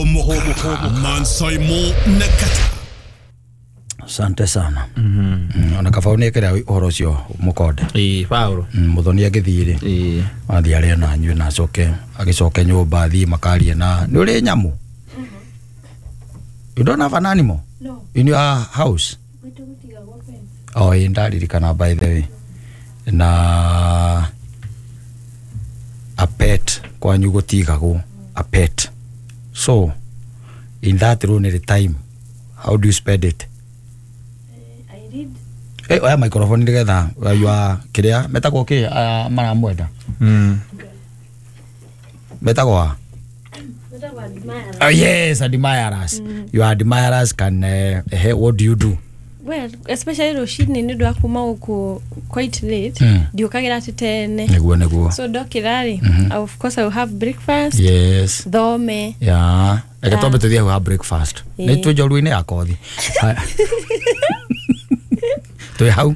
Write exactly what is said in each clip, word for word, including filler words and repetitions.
Mansaimo Nakata. Asante sana. Mm -hmm. Ona kaba unekera uhoro ucio mukonde. Ii Paulo. Mm, muthoni agithii ri. Ii. Athi aria na nyue na acoke agicoke nyumba thii makarie na ni uri nyamu. You don't have an animal? No. In your house? Oh, ii ndaririkana by the way. Na a pet kwanyu gutigagwo a pet. So in that lonely time, how do you spend it? Uh, I read. Eh, oya microphone nigetha you are kiria metagwo ki maramwenda. Mm. Metagwo. Metagwo admirers. Oh yes, admirers. Mm. Your admirers can uh, eh, what do you do? Well, especially rucini ni ndu akuma guku quite late. Mm. Ndiukagira ati tene. Niguo niguo. So ndokirari, mm -hmm. of course I will have breakfast. Yes. Thome. Yeah. Reke twambe tuthie ha breakfast. Ni twi njoru-inĩ ya kothi. Twi hau.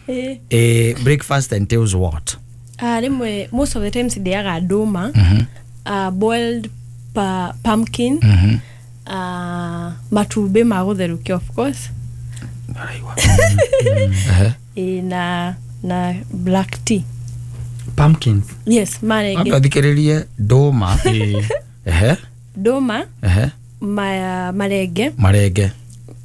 Eh. Eh, breakfast entails what? Ah, rimwe most of the times ndiaga nduma. Mm -hmm. Uh, boiled pa pumpkin. Mm -hmm. Uh, matumbi ma gutherukio of course. Eh na na black tea. Pumpkins. Yes, marenge. Athikiririe nduma. Eh. Nduma. Eh. Ma marenge. Marenge.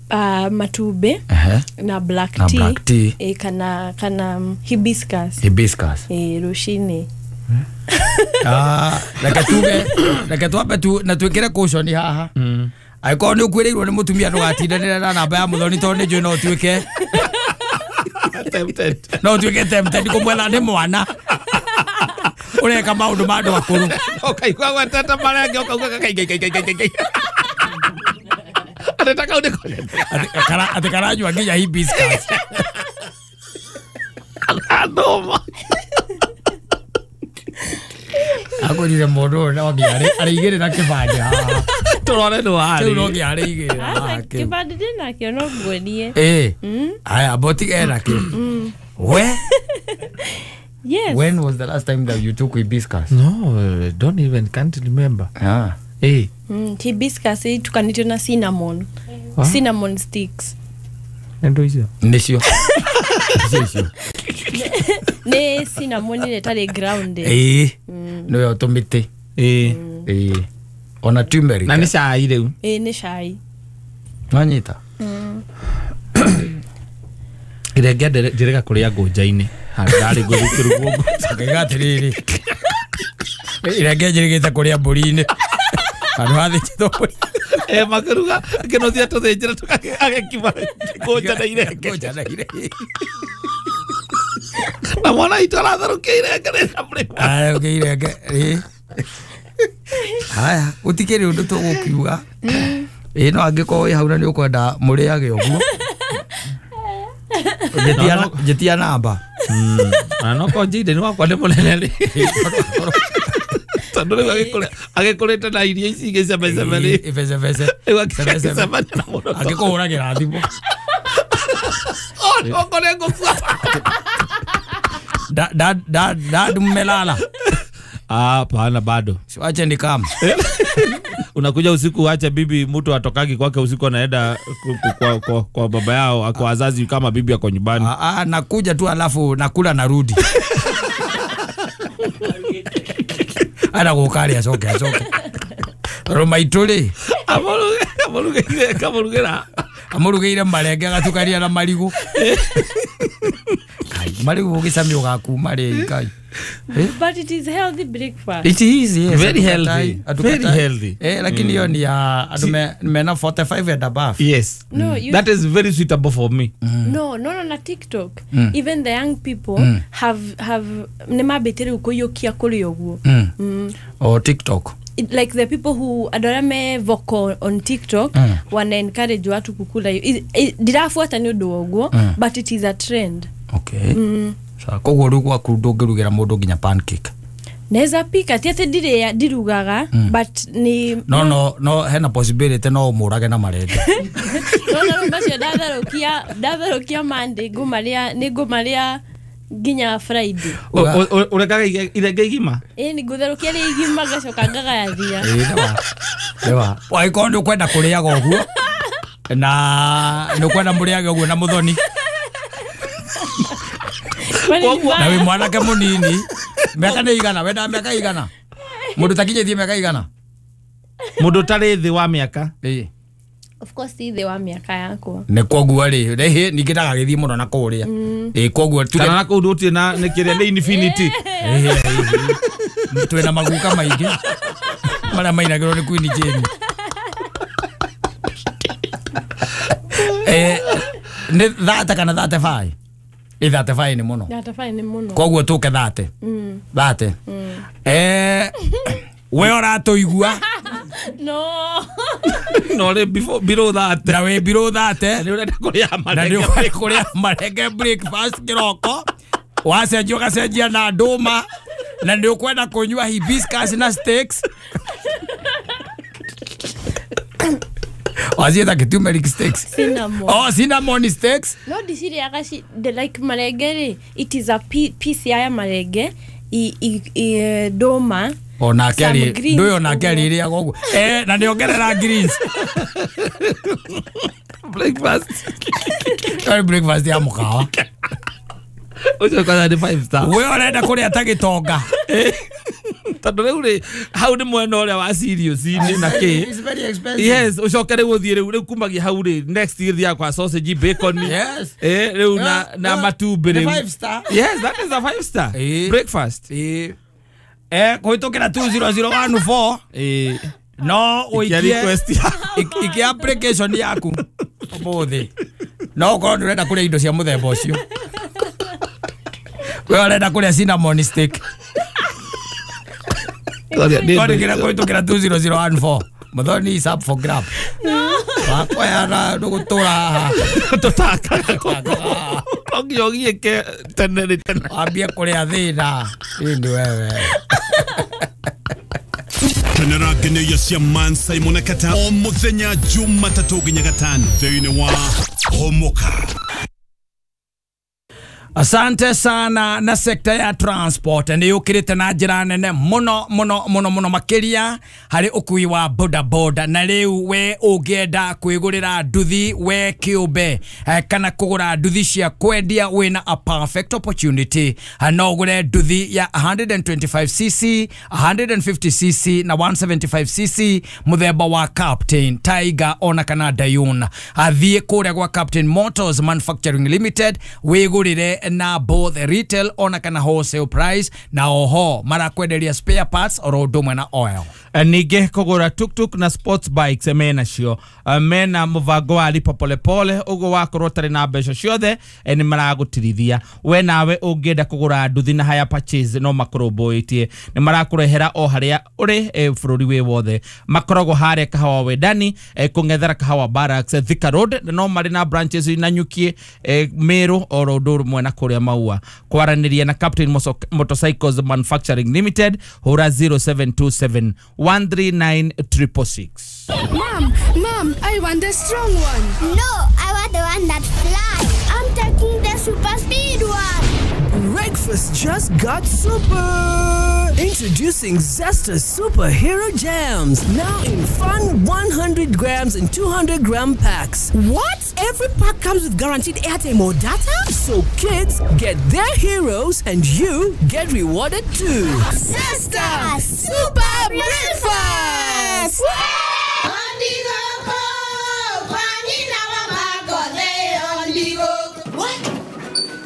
Uh, matumbi. Eh. Na black na tea. Black tea. Eh, kana kana hibiscus. Hibiscus. Eh, rucini. Ah, reke tuge, reke twambe tu na twikire caution haha. Mm. Angĩkorwo nĩ ũkuĩrĩirwo nĩ mũtumia ndũgatindanĩre na namba ya mũthoni tondũ nĩ njũĩ no ũtuĩke tempted. No ũtuĩke tempted kũmwetha nĩ mwana ũreka maũndũ ma andũ akũrũ. Ũkaigua gwetete marenge ũkauga kai. Ateta kau nĩko. Atĩ karanyua nginya hibiscus. Ndũma. Agũrire mũndũ ũyũ no nginya arĩigĩrĩra kĩbandĩ haha. Turore no ari. Rĩu no nginya arĩigĩrĩra haha kĩu. Kĩbandĩ ndĩnakĩo no nguonie. Ĩĩ. Aya boti ena kĩu. We? Yes. When was the last time that you took hibiscus? No, I don't even can't remember. Ah. Eh. Mm, hibiscus itukanĩtio na cinnamon. Ah? Cinnamon sticks. Endo icio. Nĩcio. Nĩcio icio. Nĩ cinnamon ĩrĩa ĩtarĩ grounded. Ĩĩ. Nĩyo tũmĩtĩ. Ĩĩ. Ĩĩ. Ona turmeric. Na nĩ cai rĩu. Ĩĩ nĩ cai. Nwanyita? Mm. Irenge njĩrĩga kũrĩa ngũnja-inĩ. Ndarĩ ngũthiĩ kĩrugwo ngũnja. Ngaiga atĩrĩrĩ. Irenge njĩrĩgĩte kũrĩa mbũri-inĩ. Handũ hathĩnjĩtwo mbũri. Eh makĩruga kĩnothia tũthĩnjĩra agekima ngũnja na irenge. Ngũnja na irenge. Na mwana witũ aratherũkia irenge rĩna mũrĩma. Aratherũkia irenge. Ĩĩ. Haya, gũtikĩrĩ ũndũ tũgũkiuga. Ĩĩ no angĩkorwo wĩ hau na nĩ ũkwenda mũrĩage ũguo. Njĩtia namba. Na no ko njinde nĩ wakwa nĩ mũnene rĩ. Tondũ rĩu agĩkũrĩte na irio ici ingĩ cemeceme rĩ. Ibecebece. Rĩu agĩcemania na mũno. Angĩkũhũragĩra thimũ. Okorwo nĩ ngũkua. Da da da da mmelala. Ah, pana bado. Siwache nikam. Unakuja usiku acha bibi, mtu atokagi kwake usiku anaenda kwa, kwa, kwa baba yao, kwa wazazi kama bibi ako nyumbani. Ah, ah, nakuja tu alafu nakula narudi. Ana gukari acoke acoke. Roma ituri. Amuruge amuruge kamurugera. Amurugire marenge agatukaria na marigu. Kai marigu gicamio gakuma ri kai. But it is healthy breakfast. It is, yes. Very healthy. Very healthy. Eh, lakini hiyo ni ya andu mena forty-five and above. Yes. No, you, that is very suitable for me. Mm. No, no, no, na TikTok. Mm. Even the young people mm. have have nemabetire kuyokia kuri oguo. Mm. Mm. Or TikTok. It, like the people who andũ me vocal on TikTok mm. wana encourage watu kukula. Ndirafuata ni undu oguo, mm. but it is a trend. Okay. Mm. Sawa, koguo rĩu gwaku ndũngĩrugĩra mũndũ nginya pancake. Naweza pika ti ati ndire ndirugaga mm. but ni no no no hena possibility no ũmũrage na marenge. No no macio ndatherũkia ndatherũkia Monday ngũmarĩa nĩ ngũmarĩa Nginya Friday. Urekaga irenge igima? Ĩĩ nĩ ngũtherũkia rĩ igima ngacoka ngagayathia. Ĩĩ nĩwa. Nĩwa. Angĩkorwo nĩ ũkwenda kũrĩaga ũguo na nĩ ũkwenda mũrĩage ũguo na mũthoni. Na wĩ mwanake mũnini mĩaka nĩ igana wendaga mĩaka igana mũndũ takinyĩtie mĩaka igana mũndũ ũtarĩ thĩ wa mĩaka. Ĩĩ. Of course ti thĩ wa mĩaka yakwa. Nĩ koguo rĩ rĩhĩ ningĩ ndagagĩthiĩ mũno na kũrĩa. Ĩĩ koguo kana na kũu gũtirĩ na nĩ kĩrĩa nĩ infinity. Ĩĩ twĩna maguka maingĩ marĩa mainagĩrwo nĩ Queen Jane. Eh nĩ thate kana thate five? Ĩ thate five nĩ mũno. Thate five nĩ mũno. Koguo tũke thate. Thate. Eh we ũratũigua? No. No rĩ before below that. Na wĩ below that. Nĩ ũrenda kũrĩa marenge. Na nĩ ũrenda kũrĩa marenge breakfast kĩroko. Wacenjia ũgacenjia na ndũma. Na nĩ ũkwenda kũnyua hibiscus na steaks. Waciĩta kĩ turmeric steaks? Cinnamon. Oh, cinnamon steaks. No ndicirĩaga ci like marenge rĩ, it is a piece ya marenge i i ndũma. Onake arĩ ndũyũ onake arĩrĩaga ũguo. Eh na nĩongerera greens. Breakfast. Ĩyo breakfast ya mũkawa. Ũcio kwanza nĩ five star. We ũrenda kũrĩa ta gĩtonga. Tondũ rĩu rĩ hau nĩ mwena ũrĩa wa serious-inĩ na kĩ. It's very expensive. Yes, ũcoke rĩu ũthiĩ rĩu rĩu kumagia hau rĩ next gĩthiaga kwa sausage bacon. Yes. Eh rĩu na na matumbĩ rĩu. Five star. Yes, that is a five star. Breakfast. Eh. Eh kũhĩtũkĩra two zero zero one four. Eh no ũikie ikie application yaku ũmũthĩ. No ũkorwo ndũrenda kũrĩa indo cia mũthemba ũcio. We ũrenda kũrĩa cinnamon stick. Kũhĩtũkĩra kũhĩtũkĩra two zero zero one four. Mũthoni is up for grab. Wakoya na ndũgũtũra haha. Tũtakaga no nginya ũgiĩke tene nĩ tene. Wambie kũrĩa thĩna. Ĩndĩ wewe. Kenera ngeneia cia Man Simon Kata o mũthenya Jumatatũ nginya gatano thĩinĩ wa Homoka. Asante sana na sekta ya transport nĩ yũkĩrĩte na njĩra nene mũno mũno mũno mũno makĩria harĩ ũkui wa boda boda na rĩu we ũngĩenda kwĩgũrĩra nduthi we kĩũmbe kana kũgũra nduthi cia kwendia wĩna a perfect opportunity. No ũgũre nduthi ya one twenty-five c c, one fifty c c na one seventy-five c c mũthemba wa Captain, Tiger ona kana Dayun. Athiĩ kũrĩa gwa Captain Motors Manufacturing Limited wĩgũrĩre na both retail ona kana wholesale price na oho marakwenderia spare parts oro ũndũ na oil. Ningĩ kũgũra tuk-tuk na sports bikes mena cio mena mũbango wa lipa polepole ũguo wakorwo ũtarĩ na mbeca ciothe nĩ maragũtirithia. We nawe ũngĩenda kũgũra nduthi na hire purchase no makũrũmbũĩtie nĩ marakũrehera o harĩa ũrĩ bũrũri wĩ wothe. Makoragwo harĩa Kahawa Wendani kũng'ethera Kahawa Barracks Thika Road no marĩ na branches Nanyuki Meru oro ũndũ ũmwe na kũrĩa Maua. Kwaranĩria na Captain Motorcycles Manufacturing Limited hũra zero seven two seven one three nine triple six. Mom, Mom, I want the strong one. No, I want the one that flies. I'm taking the super speed one. Breakfast just got super. Introducing Zesta Superhero Jams, now in fun one hundred grams and two hundred gram packs. What? Every pack comes with guaranteed airtime or data? So kids get their heroes and you get rewarded too. Zesta Super Breakfast!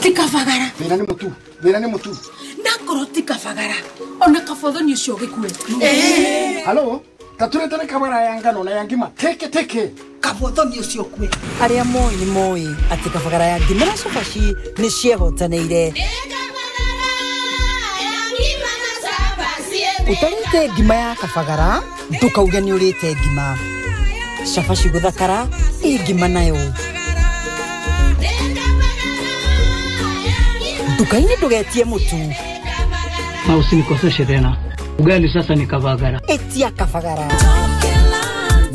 Tikafagara. Thĩna nĩ mũtu. Thĩna nĩ mũtu. Nakorwo tikafagara. Ona kabothoni ũcio gĩkue. Eh. Halo, taturetere kabara ya ngano na ya ngima. Teke teke. Kabothoni ũcio kue. Arĩa moĩ nĩ moĩ atĩ kabagara ya ngima na cabaci nĩ ciehotanĩire. Ũtarĩte ngima ya kabagara ndũkauge nĩ ũrĩte ngima. Cabaci gũthakara ĩ ngima nayo. Nduka-inĩ ndũgetie mũtu. Na usinikoseshe tena. Ugali sasa ni kabagara. Etia kabagara.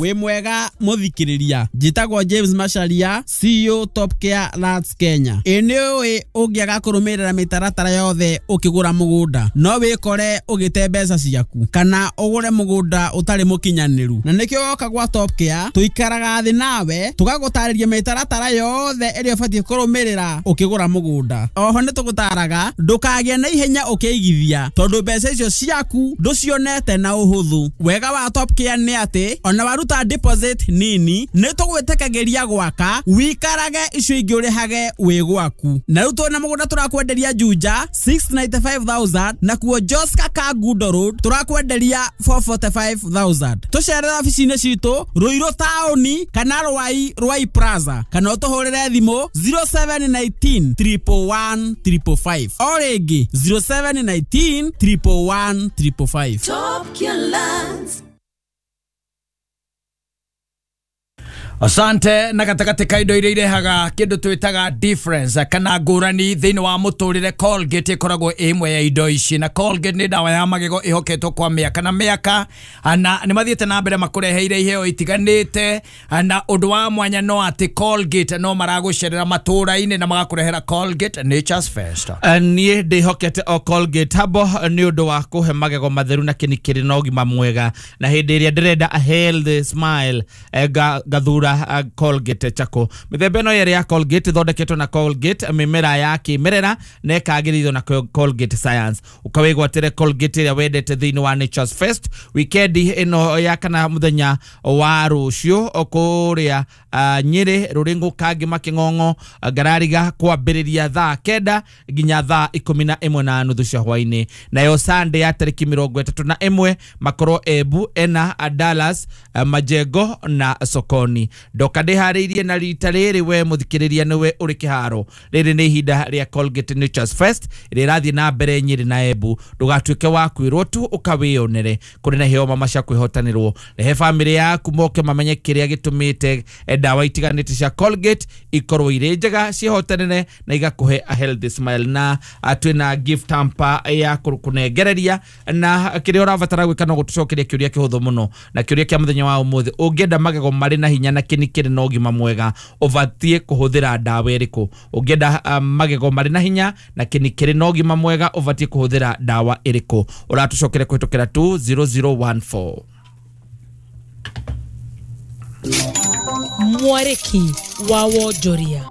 Wĩ mwega mũthikĩrĩria, njĩtagwo James Macharia, C E O Top Care Lands Kenya. Ĩ nĩ ũĩ ũngĩaga kũrũmĩrĩra mĩtaratara yothe ũkĩgũra mũgũnda no wĩkore ũgĩte mbeca ciaku kana ũgũre mũgũnda ũtarĩ mũkinyanĩru, na nĩkĩo woka gwa Top Care tũikaraga thĩ nawe tũgagũtarĩria mĩtaratara yothe ĩrĩa ũbatiĩ kũrũmĩrĩra ũkĩgũra mũgũnda. Oho nĩ tũgũtaraga ndũkagĩe na ihenya ũkĩigithia tondũ mbeca icio ciaku ndũcionete na ũhũthũ. Wega wa Top Care nĩ atĩ ona waruta deposit nini nĩ tũgwĩtĩkagĩria gwaka wikarage icio ingĩ ũrĩhage wĩ gwaku. Na rĩu twĩna mũgũnda tũrakwenderia Juja six ninety-five thousand na kuo Joska Kangundo Road tũrakwenderia four forty-five thousand. Tũcerere obici-inĩ citũ Ruiru taũni kana Rwai Rwai Plaza kana ũtũhũrĩre thimũ zero seven nineteen triple one triple five. O rĩngĩ zero seven nineteen triple one triple five. Top Care Lands. Asante na gatagatĩ ka indo iria irehaga kĩndũ twĩtaga difference kana ngũrani thĩinĩ wa mũtũrĩre, Colgate ĩkoragwo ĩ ĩmwe ya indo ici, na Colgate nĩ ndawa ya magego ĩhoketwo kwa mĩaka na mĩaka, na nĩ mathiĩte na mbere makũreheire iheo itiganĩte, na ũndũ wa mwanya no atĩ Colgate no maragũcerera matũũra-inĩ na magakũrehera Colgate Nature's Fest. Niĩ ndĩhokete o Colgate habo nĩ ũndũ wa kũhe magego matheru na kĩni kĩrĩ na ũgima mwega, na hĩndĩ ĩrĩa ndĩrenda a healthy smile gathura Colgate chako. Mĩthemba ĩno yerĩ ya Colgate ĩthondeketwo na Colgate mĩmera ya kĩmerera na ĩkagĩrithio na Colgate Science. Ũkawĩgwatĩre Colgate ĩrĩa wendete thĩinĩ wa Nature's Fest weekend ĩno ya kana mũthenya wa rũciũ kũrĩa Nyĩrĩ Rũrĩngũ Kangĩ Makĩng'ong'o Ngarariga kwambĩrĩria thaa kenda nginya thaa ikũmi na ĩmwe na nuthu cia hwainĩ. Nayo Sunday ya tarĩki mĩrongo ĩtatũ na ĩmwe makorwo Embu ena Dallas Majengo na Sokoni. Ndoka ndĩharĩirie na rita rĩrĩ we mũthikĩrĩria nĩwe ũrĩ kĩharo. Rĩrĩ nĩ ihinda rĩa Colgate Nature's Fest ĩrĩa ĩrathiĩ na mbere Nyĩrĩ na Embu. Ndũgatuĩke wa kwĩrwo tu ũkawĩyonere. Kũrĩ na iheo mama cia kwĩhotanĩrwo. Rehe bamĩrĩ yaku moke mamenye kĩrĩa gĩtũmĩte ndawa itiganĩte cia Colgate ikorwo irĩ njega ciĩhotanĩre na igakũhe a healthy smile. Na twĩna gift hamper ya kũnengereria, na kĩrĩa ũrabatara gwĩka no gũtũcokeria kĩũria kĩhũthũ mũno, na kĩũria kĩa mũthenya wa ũmũthĩ: ũngĩenda magego marĩ na hinya na kĩni kĩrĩ na ũgima mwega ũbatiĩ kũhũthĩra ndawa ĩrĩkũ? Ũngĩenda magego marĩ na hinya na kĩni kĩrĩ na ũgima mwega ũbatiĩ kũhũthĩra ndawa ĩrĩkũ? Ũratũcokeria kũhĩtũkĩra two zero zero one four. Mwarĩki wa wonjoria.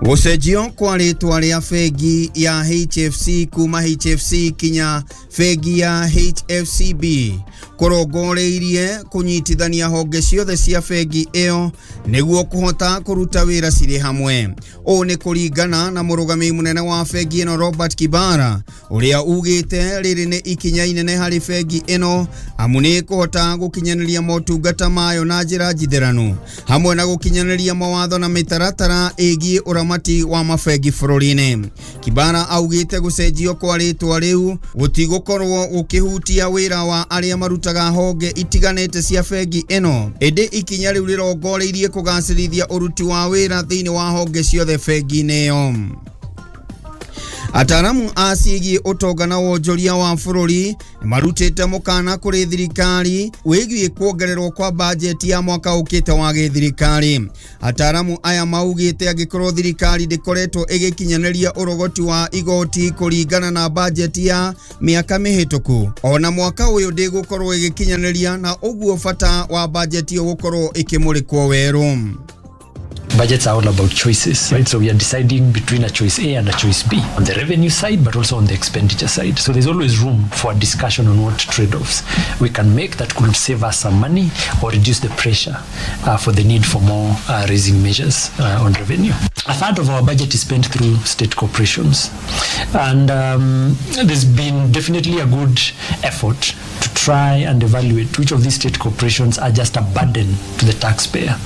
Gũcenjio kwa rĩtwa rĩa bengi ya H F C kuma H F C kinya bengi ya H F C B kũrongoreirie kũnyitithania honge ciothe cia bengi ĩyo nĩguo kũhota kũruta wĩra cirĩ hamwe. Ũũ nĩ kũringana na mũrũgamĩrĩri mũnene wa bengi ĩno Robert Kibara ũrĩa ugĩte rĩrĩ nĩ ikinya inene harĩ bengi ĩno amu nĩ kũhota gũkinyanĩria motungata mayo na njĩra njitheranu hamwe na gũkinyanĩria mawatho na mĩtaratara ĩgiĩ ũramati wa mabengi bũrũri-inĩ. Kibara augĩte gũcenjio kwa rĩtwa rĩu gũtigũkorwo gũkĩhutia wĩra wa arĩa marutaga honge itiganĩte cia bengi ĩno, ĩndĩ ikinya rĩu rĩrongoreirie kũgacĩrithia ũruti wa wĩra thĩinĩ wa honge ciothe bengi-inĩ ĩyo. Ataramu a ciĩgiĩ ũtonga na wonjoria wa bũrũri nĩmarutĩte mũkana kũrĩ thirikari wĩgiĩ kuongererwo kwa bajeti ya mwaka ũkĩte wa gĩthirikari. Ataramu aya maugĩte angĩkorwo thirikari ndĩkoretwo ĩgĩkinyanĩria ũrogoti wa igoti kũringana na bajeti ya mĩaka mĩhĩtũku, ona mwaka ũyũ ndĩgũkorwo ĩgĩkinyanĩria, na ũguo bata wa bajeti ĩyo gũkorwo ĩkĩmũrĩkwo werũ. Budgets are all about choices, right? So we are deciding between a choice A and a choice B on the revenue side, but also on the expenditure side. So there's always room for a discussion on what trade-offs we can make that could save us some money or reduce the pressure uh, for the need for more uh, raising measures uh, on revenue. A third of our budget is spent through state corporations. And um, there's been definitely a good effort to try and evaluate which of these state corporations are just a burden to the taxpayer.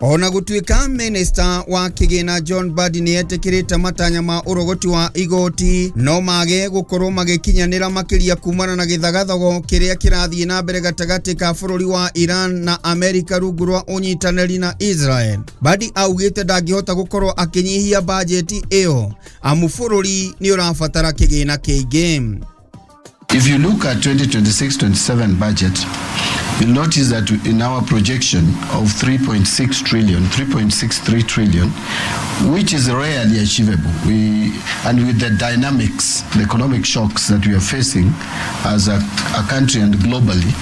Ona gũtuĩka minista wa kĩgĩna John Mbadi nĩ etĩkĩrĩte matanya ma ũrogoti wa igoti no mage gũkorwo magĩkinyanĩra makĩria kumana na gĩthagathago kĩrĩa kĩrathiĩ na mbere gatagatĩ ka bũrũri wa Iran na Amerika rungu rwa ũnyitanĩri na Israel. Mbadi augĩte ndangĩhota gũkorwo akĩnyihia bajeti ĩyo amu bũrũri nĩ ũrabatara kĩgĩna kĩingĩ. If you look at twenty twenty-six twenty-seven budget, You'll notice that in our projection of three point six trillion, three point six three trillion, which is rarely achievable. We, and with the dynamics, the economic shocks that we are facing as a, a country and globally,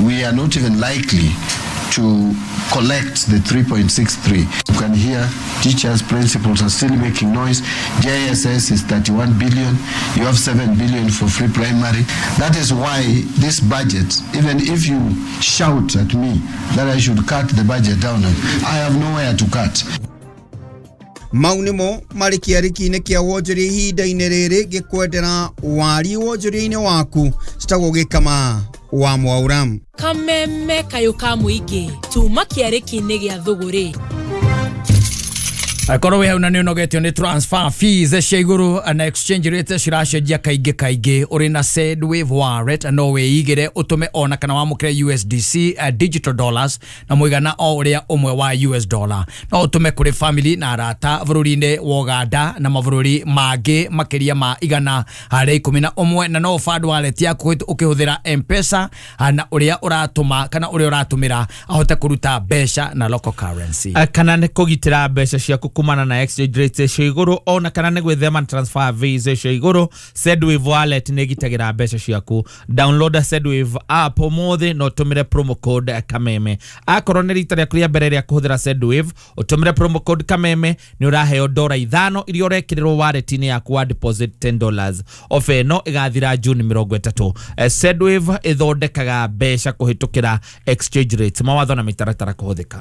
we are not even likely to collect the three point six three. You can hear teachers, principals are still making noise. J S S is thirty-one billion. You have seven billion for free primary. That is why this budget, even if you shout at me that I should cut the budget down, I have nowhere to cut. Mau nĩmo marĩ kĩarĩki-inĩ kĩa wonjoria ihinda-inĩ rĩrĩ ngĩkwendera wari wonjoria-inĩ waku citagwo gĩkama wa Mwaura. Kameme kayũ ka mũingĩ tuma kĩarĩki-inĩ gĩa thũgũrĩ. Akorwo wĩ hau na nĩ ũnogetio nĩ transfer fees cia igũrũ na exchange rate ciracenjia kaingĩ kaingĩ, ũrĩ na Sendwave wallet no wĩigĩre ũtũme ona kana wamũkĩre U S D C uh, digital dollars na mũigana o ũrĩa ũmwe wa U S dollar. No ũtũme kũrĩ family na arata bũrũri-inĩ wa Uganda na mabũrũri mangĩ makĩria ma igana harĩa ikũmi na ũmwe, na no ũband wallet yaku ũkĩhũthĩra M-Pesa na ũrĩa ũratũma kana ũrĩa ũratũmĩra ahote kũruta mbeca na local currency. Kana nĩ kũgitĩra mbeca ciaku kumana na exchange rate cia igũrũ ona kana nĩ gwĩthema transfer fees cia igũrũ, Sendwave wallet nĩ ĩgitagĩra mbeca ciaku. Download Sendwave app ũmũthĩ na ũtũmĩre promo code Kameme. Akorwo nĩ rita rĩaku rĩa mbere rĩa kũhũthĩra Sendwave, ũtũmĩre promo code Kameme nĩ ũraheo dora ithano iria ũrekĩrĩrwo wallet-inĩ yaku wa deposit ten dollars. Ofa ĩno ĩgathira June mĩrongo ĩtatũ. Sendwave ĩthondekaga mbeca kũhĩtũkĩra exchange rates. Mawatho na mĩtaratara kũhũthĩka.